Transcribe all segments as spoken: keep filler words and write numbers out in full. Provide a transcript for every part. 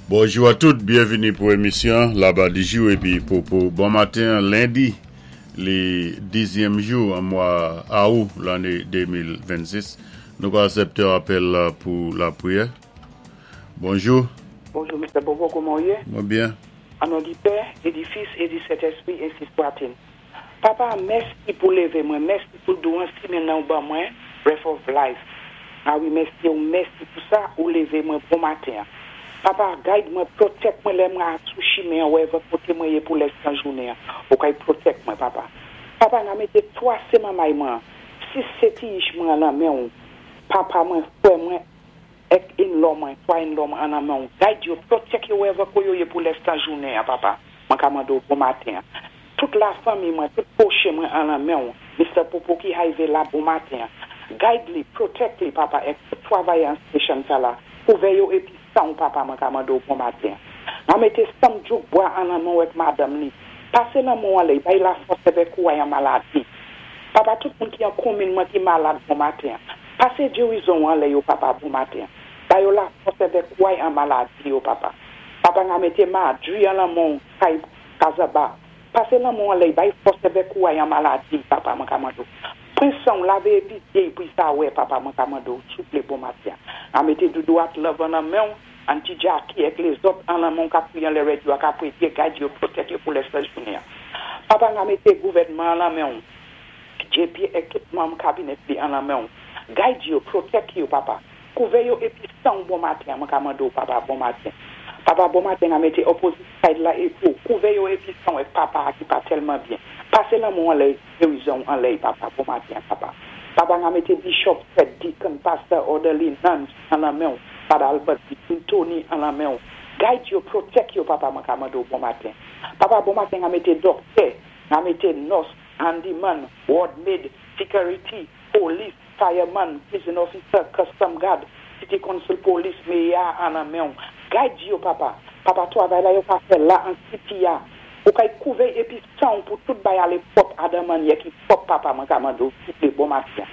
Bonjou a tout, byenvini pou émisyon Laba Dijou épi Popo. Bon maten, lendi, li dizyèm jou an mwa awou lanné de mil vennsis. Nou ka asèpté apèl la pou lapriyè. Bonjou. Bonjou, Mister Bobo, kouman ou yé? Mwen byen. An non di Pè, é di Fis, é di Sentèspwi, ensi swat-il. Papa, mèsi pou lévé mwen, mèsi pou douan simenn nan ou ban mwen, breath of life. A wi, mèsi ou mèsi pou sa ou lévé mwen bon maten. Papa, guide mwen, protect mwen lè mwen sou chimen wherever koté mwen yé pou lès tan jounen. Ou kay protect mwen, papa. Papa, nan mété twa sé manmay mwen, sis sé ti ich mwen nan men ou. Papa mwen, fwè mwen, ek in-law mwen, twa in-law mwen an nan men ou. Guide yo, protect yo wherever ko yo yé pou lès tan jounen, papa. Mwen ka mando bon maten. Tout la fanmi mwen, tout pwoche mwen an nan men ou. Mister Popo ki arivé la bon maten. Guide li, protect li, papa, ek tout travay an station sa la. Kouvè yo épi san papa, mwen ka mando bon maten. Mwen mété Sam Djouk Bwa an nan men ou ek madam li. Pasé nan moun alè, bay la fòs avèk ou an maladi. Papa, tout moun ki an komin mwen ki malad bon maten. Pasé gerizon an lè yo, papa, bon maten. Bay yo la fòs avèk ou an maladi yo, papa. Papa, mwen mété Madri an nan moun kay Kazaba. Pasé nan moun alè, bay fòs avèk ou an maladi, papa, mwen ka mando. Pren san, lavé épi dyé pou sa wè, papa, mwen ka mando, souplé bon maten. Mwen mété Doudou at Love an nan men, Auntie Jackie ek lézòt an nan men ka priyan lè radio ka priye, guide yo, protect yo pou lè sèl jounen. Papa, mwen mété gouvèdman an nan men, J P ek tout manm kabinèt li an nan men. Guide yo, protect yo, papa. Kouvè yo épi san bon maten, mwen ka mando, papa, bon maten. Papa, bon maten, mwen mété opposite side la épi kouvè yo épi san ek papa ki pa tèlman byen. Pasé nan moun an lè, gerizon an lè, papa, bon maten, papa. Papa, mwen mété Bishop Fred, Deacon, Pastor, Orderly, Nuns an nan men, Father Albert, Deacon Tony an nan men. Guide yo, protect yo, papa, mwen ka mando bon maten. Papa, bon maten, mwen mété doktè, mwen mété nurse, handyman, ward maid, security, police, fireman, prison officer, custom guard, city council police, mayor an nan men. Guide yo, papa. Papa, travay la yo ka fè la an city ya. Ou kay kouvè épi san pou tout bay alé pwòp adan mannyè ki pwòp, papa, mwen ka mando souplé bon maten.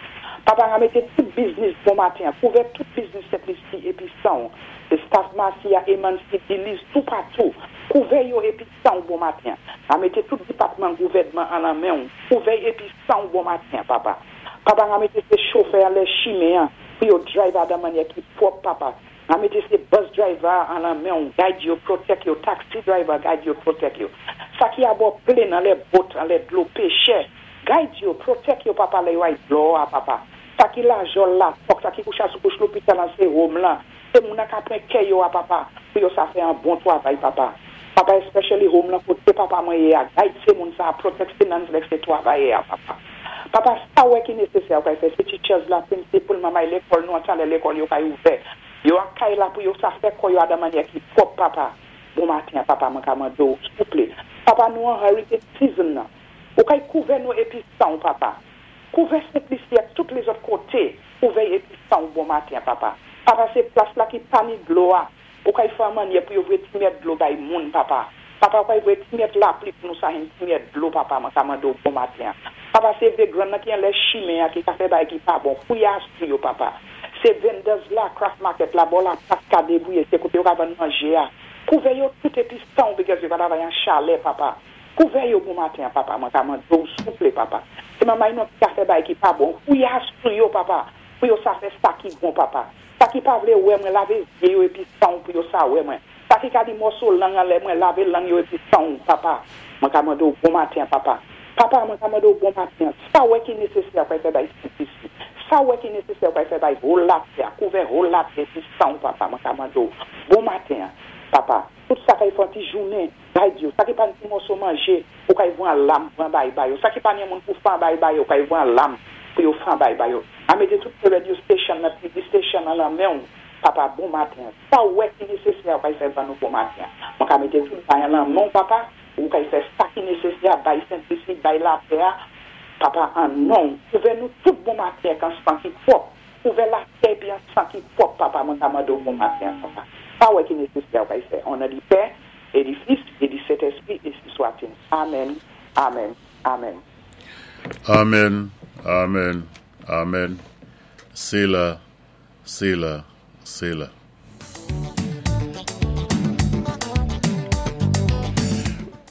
Papa, mwen mété tout business bon maten, kouvè tout business Sent Lisi épi san. Se staff Marcia, Emansi, Delize, tout patou. Kouvè yo épi san bon maten. Mwen mété tout depatman gouvèdman an nan men. Kouvè épi san bon maten, papa. Papa, mwen mété sé chofè an lè chimen, pou yo drive adan mannyè ki pwòp, papa. Mwen mété sé bus driver an nan men, guide yo, protect yo, taxi driver, guide yo, protect yo. Sa ki abò plane an lè boat, an lè dlo péchè, guide yo, protect yo, papa, lè yo ay dlo a, papa. Sa ki la jol la, fòk sa ki koucha sou kouch lopital an sé home lan, sé moun an ka pren kè yo a, papa, pou yo sa fè an bon travay, papa. Papa, especially home lan, koté papa mwen yé a, guide sé moun sa, protect sé nuns lèk sé travay a, papa. Papa, sa wè ki nésésè ou kay fè, sé teachers la, principal, mamay lékòl, nou an talè lékòl yo kay ouvè. Yo an kay la pou yo sa fè kò yo adan mannyè ki pwòp, papa. Bon maten, papa, mwen ka mando, souplé. Papa, nou an hurricane season nan. Ou kay kouvè nou épi san, papa. Kouvè Sent Lisi ak tout lézòt koté. Kouvè épi san bon maten, papa. Papa, sé plas la ki pa ni dlo a. Ou kay fè mannyè pou yo vwé ti myèt dlo bay moun, papa. Papa, ou kay vwé ti myèt lapli pou nou sa hen ti myèt dlo, papa, mwen ka mando bon maten. Papa, sé vagrant nan ki an lè chimen a ki ka fè bay ki pa bon. Fouya sou yo, papa. Sé vendors la, craft market la, bò la plas ka débouye, sé koté yo ka vann manjé a. Kouvè yo tout épi san because yo ka travay an chalè, papa. Kouvè yo bon maten, papa, mwen ka mando souplé, papa. Sé mamay nou ki ka fè bay ki pa bon. Fouya sou yo, papa. Pou yo sa fè sa ki bon, papa. Sa ki pa vlé wè mwen, lavé zyé yo épi san pou yo sa wè mwen. Sa ki ka di mòso lang an lè mwen, lavé lang yo épi san, papa. Mwen ka mando bon maten, papa. Papa, mwen ka mando bon maten. Sa wè ki nésésè pou fè bay Sent Lisi. Sa wè ki nésésè pou fè bay whole latè, kouvè whole latè épi san, papa, mwen ka mando bon maten, papa. Tout sa kay fè ti jounen, guide yo. Sa ki pa ni mòso manjé, ou kay vwan lam pou an bay bay yo. Sa ki pa ni moun pou fan bay bay yo, ou kay vwan lam pou yo fan bay bay yo. A mété tout radio station nan, T V station nan la men, papa, bon maten. Sa wè ki nésésè ou kay fè ban nou bon maten. Mwen ka mété tout bay nan men, papa, ou kay fè sa ki nésésè, bay Sent Lisi, bay latè, papa, an non. Kouvè nou tout bon maten kan san ki pwòp. Kouvè latè pi an san ki pwòp, papa, mwen ka mando bon maten, papa. Sa wè ki nésésè ou kay fè. An non di Pè, é di Fis, é di Sentèspwi, ensi swat-il. Amen, amen, amen. Amen, amen, amen. Séla, séla, séla.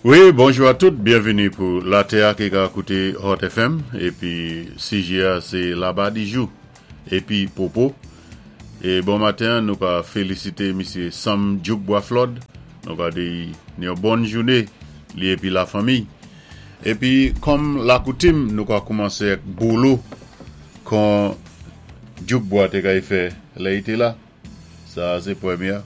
Wi, bonjou a tout, byenvini pou Latè ki ka kouté Hot F M épi sijè sé Laba Dijou épi Popo. É bon maten, nou ka félisité misyé Sam Djouk Boisflod. Nou ka di yon bòn jouné li épi lafanmi. Épi kòm lakoutim, nou ka koumansé ak boulou kon Djouk Bois té kay fè lè i té la. Sa sé pwémyé.